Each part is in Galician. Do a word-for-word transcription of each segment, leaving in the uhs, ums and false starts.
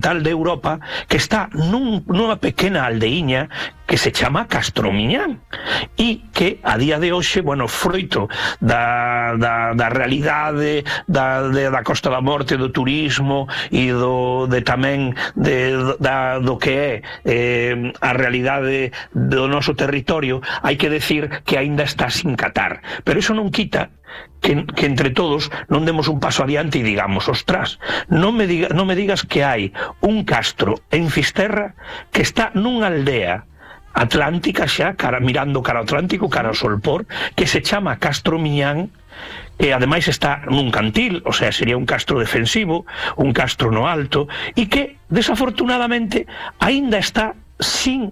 occidental de Europa, que está nun, nunha pequena aldeiña que se chama Castromiñán e que a día de hoxe, bueno, froito da, da, da realidade da, de, da Costa da Morte, do turismo e do, de tamén de, da, do que é eh, a realidade do noso territorio, hai que decir que aínda está sin catar, pero iso non quita Que, que entre todos non demos un paso adiante e digamos, ostras, non me, diga, non me digas que hai un castro en Fisterra que está nunha aldea atlántica xa, cara, mirando cara ao Atlántico, cara ao Solpor, que se chama Castromiñán, que ademais está nun cantil, o sea, sería un castro defensivo, un castro no alto, e que, desafortunadamente, aínda está sin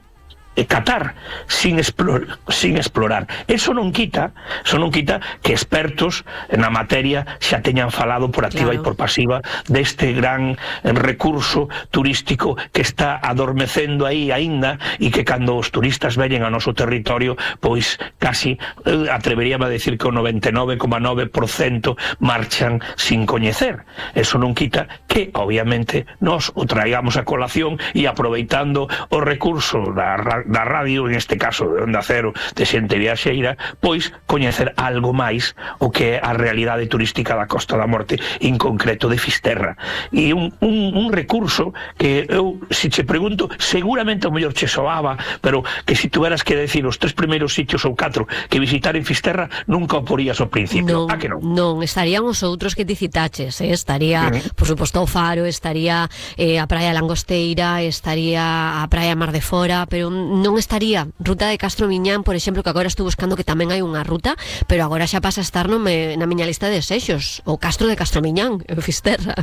catar, sin explorar, sin explorar. Eso non quita, eso non quita que expertos na materia xa teñan falado por activa claro. e por pasiva deste gran recurso turístico que está adormecendo aí aínda e que cando os turistas veñen ao noso territorio, pois casi eh, atreveríame a decir que o noventa e nove coma nove por cento marchan sin coñecer. Eso non quita que, obviamente, nós o traigamos a colación e aproveitando o recurso da da radio, en este caso de Onda Cero, de xente viaxeira, pois coñecer algo máis o que é a realidade turística da Costa da Morte, en concreto de Fisterra. E un, un, un recurso que eu, se che pregunto, seguramente o mellor che soaba, pero que se tuveras que decir os tres primeiros sitios ou catro que visitar en Fisterra, nunca o porías ao principio. Non, ah, que non? Non, estarían os outros que ti citaches, eh? Estaría, uh-huh. por suposto, o Faro, estaría eh, a Praia Langosteira, estaría a Praia Mar de Fora, pero non estaría Ruta de Castromiñán, por exemplo, que agora estou buscando que tamén hai unha ruta, pero agora xa pasa a estar no me, na miña lista de desexos, o Castro de Castromiñán, en Fisterra.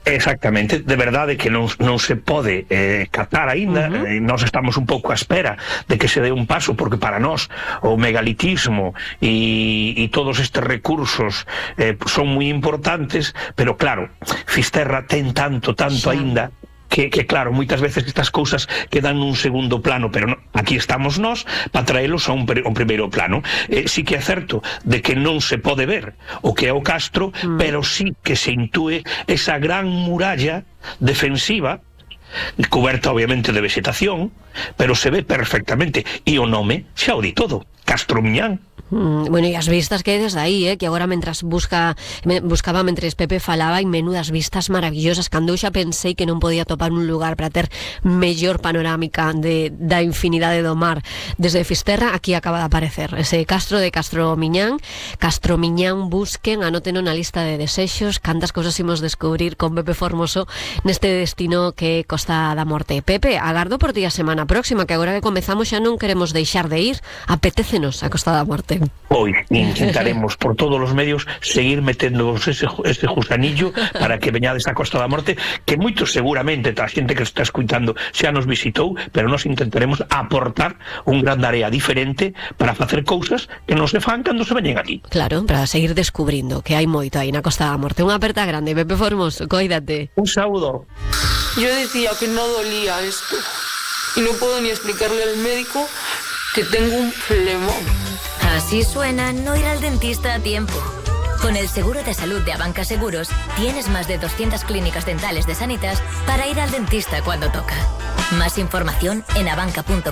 Exactamente, de verdade que non, non se pode eh, catar aínda, uh-huh. eh, nós estamos un pouco á espera de que se dé un paso, porque para nós o megalitismo e, e todos estes recursos eh, son moi importantes, pero claro, Fisterra ten tanto, tanto sí. aínda, Que, que claro, moitas veces estas cousas quedan nun segundo plano, pero no, aquí estamos nós para traelos a un, un primeiro plano. Eh, sí que é certo de que non se pode ver o que é o castro, mm. pero sí que se intúe esa gran muralla defensiva, coberta obviamente de vegetación, pero se ve perfectamente, e o nome xa o di todo, Castromiñán. Mm, bueno, e as vistas que hai desde aí, eh, que agora mentras busca me, buscaba mentres Pepe falaba, e menudas vistas maravillosas, cando eu xa pensei que non podía topar un lugar para ter mellor panorámica de, da infinidade do mar desde Fisterra. Aquí acaba de aparecer ese castro de Castromiñán. Castromiñán, busquen, anoten na lista de desexos, cantas cousas imos descubrir con Pepe Formoso neste destino que é Costa da Morte. Pepe, agardo por ti a semana próxima, que agora que comezamos xa non queremos deixar de ir, apetécenos a Costa da Morte. Pois intentaremos por todos os medios seguir metendo ese, ese gusanillo para que veñades a Costa da Morte, que moito seguramente a xente que está escuitando xa nos visitou, pero nós intentaremos aportar un gran área diferente para facer cousas que non se fan cando se veñen aquí. Claro, para seguir descubrindo que hai moito aí na Costa da Morte. Unha aperta grande, Pepe Formoso, coídate. Un saúdo. Yo decía que no dolía esto y no puedo ni explicarle al médico que tengo un flemón. Así suena no ir al dentista a tiempo. Con el seguro de salud de Abanca Seguros, tienes más de doscientas clínicas dentales de Sanitas para ir al dentista cuando toca. Más información en abanca punto com.